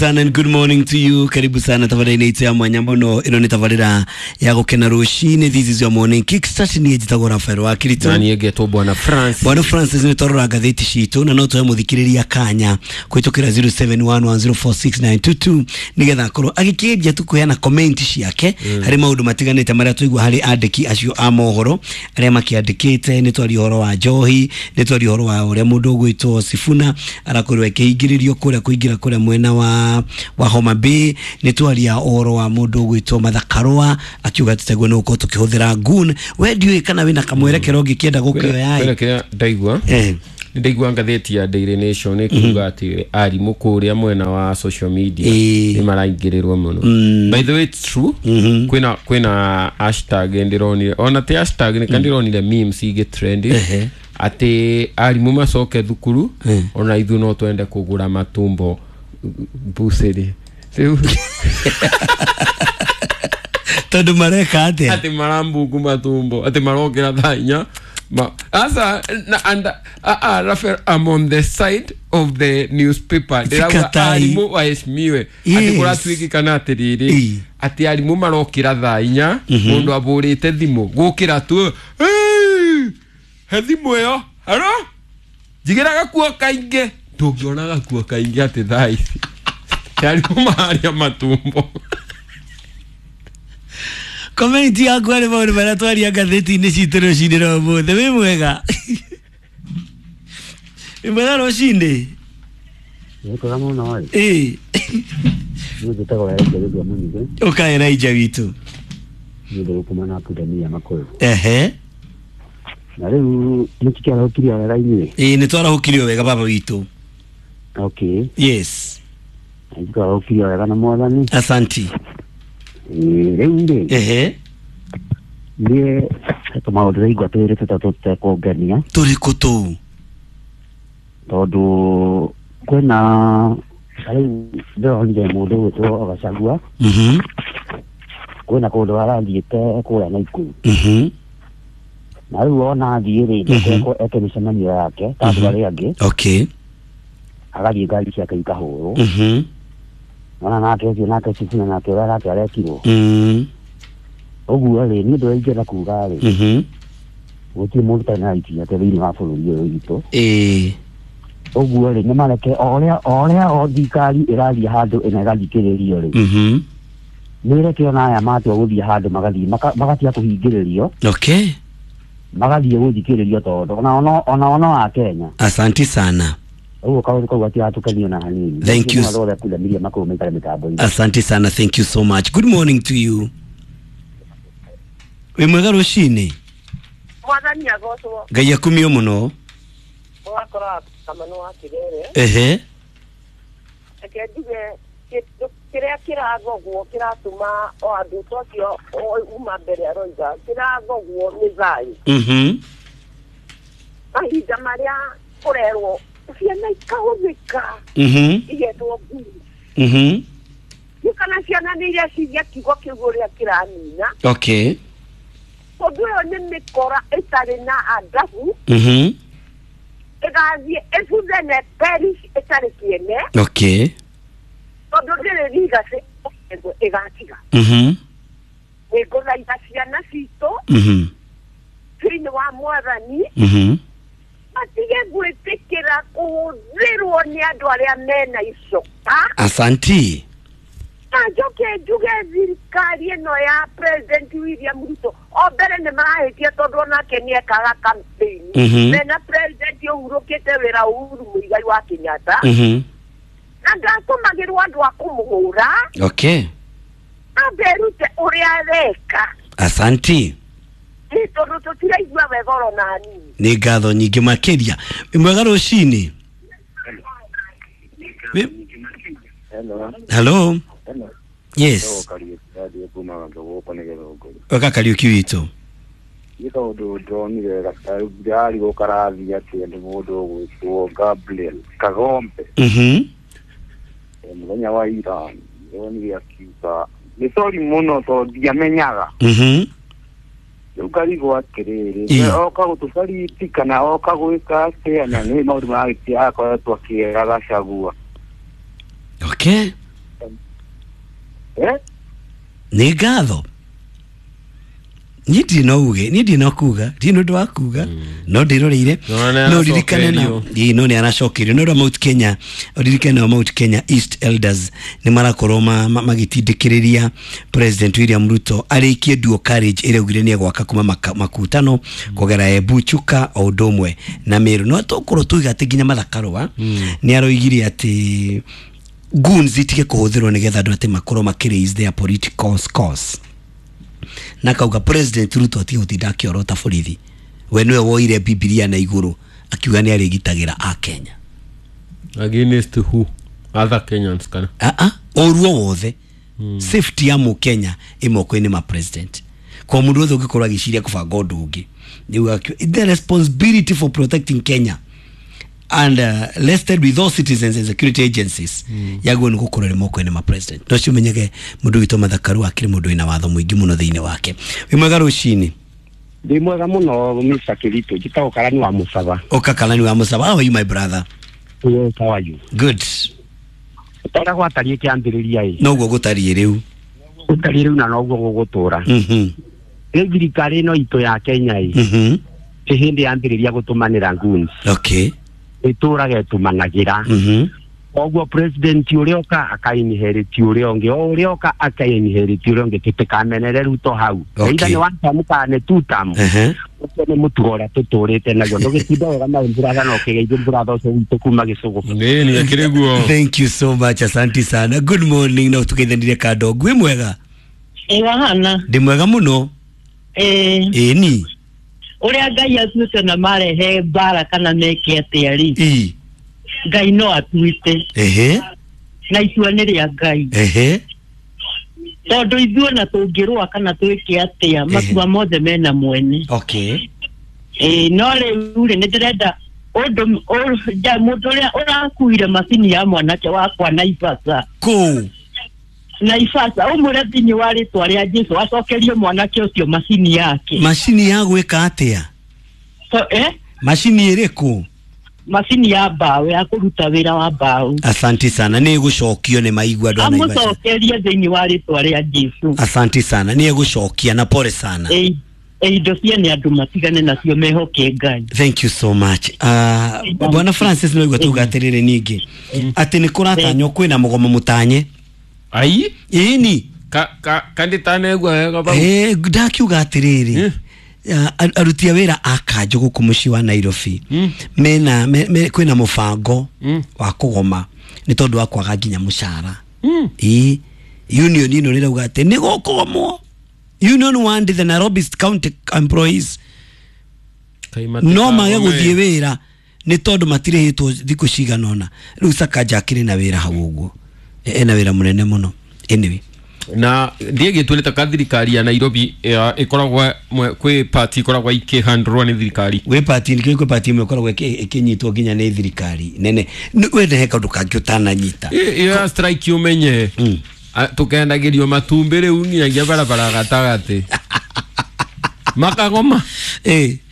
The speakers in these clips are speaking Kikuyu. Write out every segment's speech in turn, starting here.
Sana and good morning to you. Karibu sana tabarĩra itũ ya mwanya mũno. Ĩno nĩ tabarĩra ya gũkena rũcinĩ. This is your morning kickstart. Niĩ njĩtagwo Rafael wa Kirito. Na niĩ ngetwo Bwana Francis. Bwana Francis, nĩ twarora ngathĩti citũ na no tũhe mũthikĩrĩria kanya kũhĩtũkĩra 0711046922 nĩgetha akorwo agĩkĩendia tu kũheana comment ciake harĩ maũndũ matiganĩte marĩa twaigua harĩ andĩki acio a mohoro arĩa makĩandĩkĩte. Nĩ twaria ũhoro wa njohi, nĩ twaria ũhoro wa ũrĩa mũndũ ũgwĩtwo Sifuna arakorirwo akĩhingĩrĩrio kũrĩa kũingĩra kũrĩa mwena wa Homa Bay. Nĩ twaria ũhoro wa mũndũ ũgwĩtwo Martha Karũa akiuga tũteguo nĩ gũkorwo tũkĩhũthĩra gun. We ndiũĩ kana wĩna kamwerekero ũngĩkĩenda gũkĩoya. Kwĩna kĩrĩa ndaigua. Nĩ ndaigua ngathĩti ya Daily Nation ĩkiuga atĩ arimũ kũrĩa mwena wa social media nĩ maraingĩrĩrwo mũno. By the way, it's true. Kwĩna hashtag ndĩronire, ona ti hashtag, nĩ ndĩronire memes igĩ trend atĩ arimũ macoke thukuru, ona ithuĩ no twende kũgũra matumbo bucĩrĩ rĩu. Tondũ mareka atĩa? Atĩ marambungu matumbo, atĩ marokĩra thaa 4 ma asa na and Rafael, I'm on the side of the newspaper. Ndĩrauga Sikatai. arimũ waheshimiwe, atĩ kũratuĩkĩkana atĩrĩrĩ, atĩ arimũ marokĩra thaa 4, mũndũ abũrĩte thimũ gũkĩra tu, "Hey, he thimũ ĩyo haro njigĩra gakuo kaingĩ, ndũngĩona gakuo kaingĩ," atĩ thaa ici arimũ marĩa matumbo. Comment yaku harĩ maũndũ marĩa twaria ngathĩti-inĩ citũ rũcinĩ rwa ũmũthĩ. Wĩ mwega, wĩ mwega rũcinĩ. Nĩkwega mũno ĩ. Niĩ njĩtagwo Elijah Gĩthua Mũnyugĩ. Ũka Elijah witũ. Niĩ ndĩ gũkũ mwena wa Pundamilia Makũyũ. Na rĩu nĩtũkĩarahũkirio wega inyuĩ? Ĩĩ, nĩ twarahũkirio wega, baba witũ. Okay. Yes. Nĩtwarahũkirio wega na Mwathani. Asanti. Ĩĩ, rĩu rĩ, niĩ he tũmaũndũ ndĩraigua twĩrĩ tũtatũ tũtekũngenia. Tũrĩkũ tũu? Tondũ kwĩna ta rĩu ndĩronire mũndũ ũgwĩtwo Gachagua, kwĩna kũndũ arathiĩte kũrĩa Naikuru, na rĩu ona athiĩ rĩ, eke mĩcemanio yake ta andũ arĩa angĩ, agathiĩ ngari ciake ikahũrwo. Ona nake ũcio nake Sifuna nake ũrĩa nake arekirwo ũguo rĩ, niĩ ndũrĩa ingĩenda kuga rĩ, gũtirĩ mũndũ ũtarĩ na right yake thĩinĩ wa bũrũri ũyũ witũ. Ũguo rĩ, nĩ mareke o ũrĩa o thirikari ĩrathiĩ handũ ĩna ĩgathikĩrĩrio rĩ, nĩ ĩreke ona aya matua gũthiĩ handũ magathiĩ magatiga kũhingĩrĩrio, magathiĩ gũthikĩrĩrio tondũ ona ono wa Kenya. Asanti sana. Ũguo kaũndũ kau gatiratũkenia ona hanini. Thank you. Andũ othe kundamiria makũyũ maikare mĩtambo-inĩ. Asante sana, thank you so much. Good morning to you. Wĩ mwega rũcinĩ. Mwathani agocwo. Ngai akumio mũno. Ũgakora kamano wa Kĩrere. Reke njuge kĩndũ kĩrĩa kĩragogwo kĩratũma o andũ ta ũcio uma mbere aroiga kĩragogwo nĩ thayũ. Mahinda marĩa kũrerwo ciana ikahũthĩka, igetwo ngui. Nĩ kana ciana nĩ ireciria kiugo kĩu ũrĩa kĩranina. Ũndũ ũyũ nĩ mĩkora ĩtarĩ na adabu, ĩgathiĩ ĩbuthe na perish ĩtarĩ kĩene, tondũ ndĩrĩ legacy ĩgatiga. Nĩ ngũthaitha ciana citũ thĩinĩ wa Mwathani matige gwĩtĩkĩra kũhũthĩrwo nĩ andũ arĩa mena icoka. Asanti. Na njoke njuge thirikari ĩno ya President William Ruto o mbere nĩ marahĩtia tondũ onake nĩ ekaga campaign mena President ũhurũkĩte wĩra Uhuru Muigai wa Kenyatta, na ndatũmagĩrwo andũ a kũmũhũra. Ambe erute ũrĩa areka. Asanti. Nĩ tondũ tũtiraigua wega oro na hanini. Nĩ ngatho nyingĩ makĩria. Wĩ mwega rũcinĩ. Hello. Hello. Hello. Yes. Kariũki radio kuma gũkũ nĩ Gĩthũngũri. Weka Kariũki witũ. Nĩ kaũndũ ndonire ndĩrarigwo karathiĩ atĩ nĩ mũndũ ũgwĩtwo Gabriel Kagombe. Mũthenya wa ira ndonire akiuga nĩ sorry mũno tondũ ndiamenyaga. Rĩu ngarigwo atĩrĩrĩ, oka gũtũbariti kana oka gwĩka atĩa, na nĩ maũndũ maragĩtia akoretwo akĩra Gachagua. Nĩ ngatho. Niĩ ndirĩ na uge, niĩ ndirĩ na kuga, ndirĩ na ũndũ wa kuga, no ndĩroreire. No ririkane na ĩĩ no nĩ aracokerio. No Mount Kenya, ririkane na Mount Kenya East Elders nĩ marakorwo magĩtindĩkĩrĩria President William Ruto arĩkie dual carriage ĩrĩa augire nĩ egwaka kuma makutano kũgera Embu, Chuka o ũndũ ũmwe na Meru. No tũkorwo tuiga atĩ nginya Martha Karua nĩ aroigire atĩ goons itige kũhũthĩrwo nĩgetha andũ atĩ makorwo makĩ raise their political scores. Na kauga President Ruto atige gũtinda akĩorota borithi. We nĩwe woire Bibilia na igũrũ akiuga nĩ arĩgitagĩra a Kenya. Against who? Other Kenyans kana? Ũru o wothe. Safety ya mũkenya ĩ moko-inĩ ma president. Kwa mũndũ wothe ũngĩkorwo agĩciria kũbanga ũndũ ũngĩ. The responsibility for protecting Kenya and listed with all citizens and security agencies yaguo nĩ gũkorwo ĩrĩ moko-inĩ ma president. No ciũmenyege mũndũ witũ Martha Karua akĩrĩ mũndũ wĩna watho mũingĩ mũno thĩinĩ wake. Wĩ mwega rũcinĩ? Ndĩ mwega mũno Mr. Kirito, njĩtagwo Karani wa Mũcaba. Ũka Karani wa Mũcaba. How are you my brother? Yes, how are you? Good. Ũrĩa gwatariĩ kĩambĩrĩria ĩ. Noguo gũtariĩ rĩu. Gũtariĩ rĩu na noguo gũgũtũra. Rĩu thirikari ĩno itũ ya Kenya ĩ. Ti hĩndĩ yambĩrĩria gũtũmanĩra goons. Okay. Ĩtũraga ĩtũmanagĩra. Koguo president ũrĩa ũka akainherit ũrĩa ũngĩ, o ũrĩa ũka akainherit ũrĩa ũngĩ, tũtikamenere Ruto hau. Either nĩ one term kana nĩ two term. Ũcio nĩ mũtugo ũrĩa tũtũrĩte naguo. Ndũgĩtinda wega na mbũratha na ũkĩgeithia mbũratha ũcio witũ kuma Gĩcũgũ. Nĩ akĩrĩ guo. Thank you so much, asante sana. Good morning na ũtũgeithanĩrie kando. Gwĩ mwega? Ĩ wahana. Ndĩ mwega mũno. Ĩ ni. Ũrĩa Ngai atuĩte na marehe mbara kana meke atĩa rĩ. Ngai no atuĩte. Na itua nĩ rĩa Ngai. Tondũ ithuĩ na tũngĩrũa kana twĩke atĩa matua mothe mena mwene. Okay. No rĩu rĩ nĩ ndĩrenda ũndũ mũndũ ũrĩa ũrakuire macini ya mwanake wakwa Naivasha. Kũu? Naivasha ũmwĩre thĩinĩ wa rĩtwa rĩa Jesũ acokerie mwanake ũcio macini yake. Macini ya gwĩka atĩa? Macini ĩrĩkũ? Macini ya mbaũ ya kũruta wĩra wa mbaũ. Asante sana, nĩ gũcokio nĩ maigua andũ a Naivasha. Amũcokerie thĩinĩ wa rĩtwa rĩa Jesũ. Asante sana, nĩ gũcokia na pole sana. Indo ciene andũ matigane nacio mehoke Ngai. Thank you so much. Bwana Francis no igua tuga atĩrĩrĩ ningĩ atĩ nĩ kũratanywo kwĩna mũgomo mũtanye. Ai? Ĩni. Kanditanegua wega bau. Ndakiuga atĩrĩrĩ. Aruti a wĩra a kanjũ gũkũ mũciĩ wa Nairobi mena kwĩna mũbango wa kũgoma nĩ tondũ wa kwaga nginya mũcara. Ĩĩ union ĩno rĩrauga atĩ nĩ gũkũgomwo. Union want the Nairobi County employees no mage gũthiĩ wĩra nĩ tondũ matirĩhĩtwo thikũ cigana ũna. Rĩu Sakaja akĩrĩ na wĩra hau ũguo, ena wĩra mũnene mũno. Anyway, na ndiĩ gĩtuĩte ka thirikari ya Nairobi ĩkoragwo kwĩ party ĩkoragwo ikĩhandũrwo nĩ thirikari. Gwĩ party nĩ kwĩ party ĩmwe ĩkoragwo ĩkĩnyitwo nginya nĩ thirikari nene. Wende he kaũndũ kangĩ ũtananyita. Ĩyo ya strike ũmenye tũkendagĩrio matumbĩ rĩu nginyagia barabara gatagatĩ. Makagoma.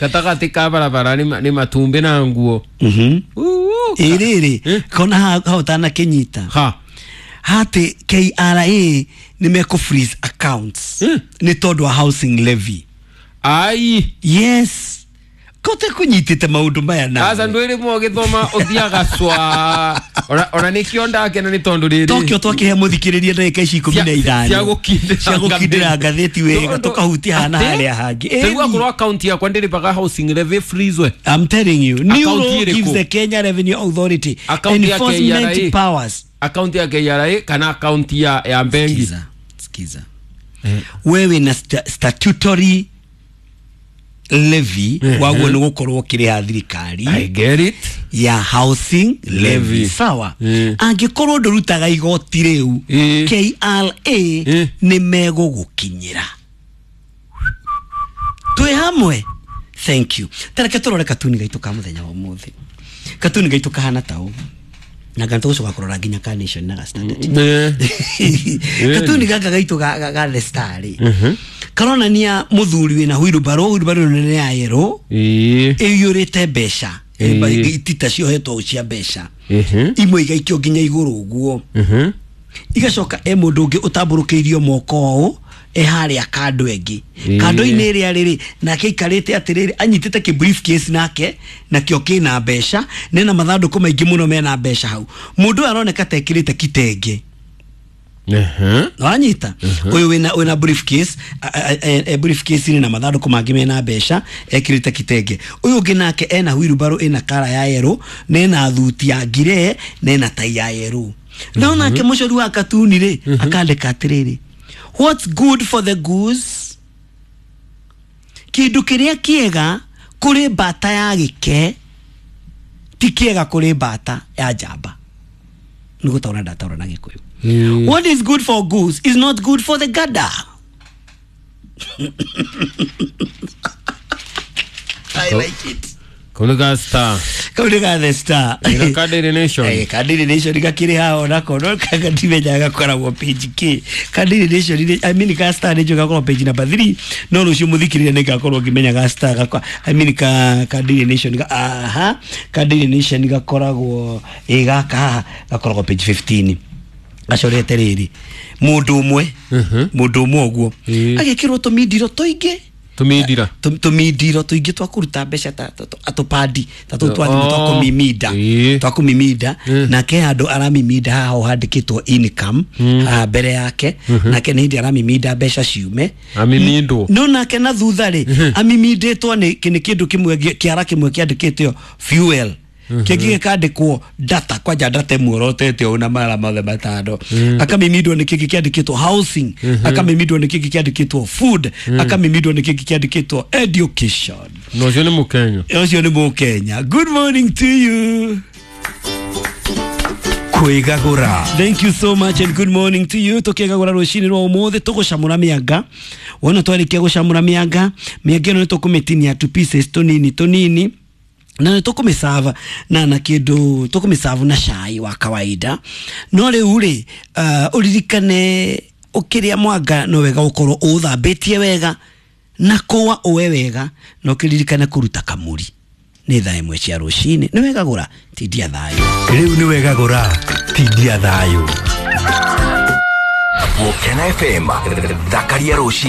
Gatagatĩ ka barabara nĩ matumbĩ na nguo. Ĩrĩrĩ kona ha ũtanakĩnyita. Ha. Hati KRA nĩ mekũ freeze accounts nĩ tondũ wa housing levy. Ai. Yes. Kote kũnyitĩte maũndũ maya na. Aca ndwĩrĩ mũgĩthoma ũthiaga cwa. Ona nĩkĩo ndakena nĩ tondũ rĩrĩ. Tokyo twakĩhe mũthikĩrĩria ndagĩka ici 15. Cia gũkindĩra ngathĩti wega tũkahutia hana harĩa hangĩ. Rĩu akorwo account yakwa ndĩrĩbaga housing levy freeze. I'm telling you, new law gives the Kenya Revenue Authority enforcement powers. Account ya KRA kana account ya bengi. Sikiza. Wewe na statutory levy waguo nĩ gũkorwo ũkĩrĩha thirikari. I get it. Ya housing levy. Sawa. Angĩkorwo ndũrutaga igoti rĩu KRA nĩ megũgũkinyĩra. Twĩ hamwe. Thank you. Tareke tũrore katuni gaitũ ka mũthenya wa ũmũthĩ. Katuni gaitũ kahana ta ũũ. Na ganto ucio gakorora nginya ka Nation na ga Standard. Katuni gaka gaitũ ga The Star rĩ. Karonania mũthuri wĩna wheelbarrow nene ya yellow. Ĩiyũrĩte mbeca. Itita ciohetwo cia mbeca. Imwe igaikio nginya igũrũ ũguo. Igacoka e mũndũ ũngĩ ũtambũrũkĩirio moko ũũ e harĩa kando ĩngĩ. Kando-inĩ ĩrĩa rĩrĩ nake aikarĩte atĩrĩrĩ anyitĩte kĩ briefcase nake nakĩo kĩna mbeca nena mathandũkũ maingĩ mũno mena mbeca hau. Mũndũ ũyũ aroneka ta ekĩrĩte kitenge. Wanyita uyu wina briefcase briefcase ina mathandũkũ mangĩ mena mbeca ekĩrĩte kitenge. Uyu ũngĩ nake ena wheelbarrow ina kara ya yellow na ena thuti ya ngire na ena tai ya yellow. No nake mũcori wa katuni rĩ akandĩka atĩrĩrĩ, what's good for the goose, kĩndũ kĩrĩa kĩega kũrĩ mbata ya gĩke ti kĩega kũrĩ mbata ya njamba. Nĩ gũtaũra ndataũra na Gĩkũyũ. What is good for goose is not good for the gander. I like it. Kaunga star. Kaunga the star. Ina ka Daily Nation. Ka Daily Nation gakiri hao nako no kagatimenya gakoragwo page K. Ka Daily Nation I mean ka star nĩnjũĩ gakoragwo page number 3 no rũciũ mũthikĩrĩria nĩ ngakorwo ngĩmenya ga star gakwa I mean ka Daily Nation ga aha ka Daily Nation gakoragwo gaka haha gakoragwo page 15. Gacorete rĩrĩ mũndũ ũmwe mũndũ ũmwe ũguo agĩkĩrwo tũmindiro tũingĩ tumindira tumindiro tuingĩ twa kũruta mbeca ta tũpandi ta tũu twa thimũ twa kũmiminda twa kũmiminda nake handũ aramiminda haha handĩkĩtwo income haha mbere yake nake nĩ hĩndĩ aramiminda mbeca ciume amimindwo no nake na thutha rĩ amimindĩtwo nĩ kĩndũ kĩmwe kĩara kĩmwe kĩandĩkĩtwo fuel kĩngĩ gĩkandĩkwo data kwanja data ĩmuorotete ũũ na mara mothe matano. Akamimindwo nĩ kĩngĩ kĩandĩkĩtwo housing, akamimindwo nĩ kĩngĩ kĩandĩkĩtwo food, akamimindwo nĩ kĩngĩ kĩandĩkĩtwo education. No ũcio nĩ Mũkenya. Ũcio nĩ Mũkenya. Good morning to you. Kwĩgagũra. Thank you so much and good morning to you. Tukĩgagũra rũcinĩ rwa ũmũthĩ tũgũcamũra mĩanga. Wona twarĩkia gũcamũra mĩanga, mĩanga ĩno nĩ tũkũmĩtinia two pieces tũnini tũnini na tũkũmĩsava na kĩndũ tũkũmĩsavu na cai wa kawaida. No rĩu rĩ ũririkane ũkĩrĩa mwanga no wega ũkorwo ũthambĩtie wega na kũwa ũwe wega na ũkĩririkane kũruta kamũri. Nĩ thaa 1 cia rũcinĩ. Nĩ wega gũra tindia thayũ. Rĩu nĩ wega gũra tindia thayũ. Mukena FM thakaria rũcinĩ.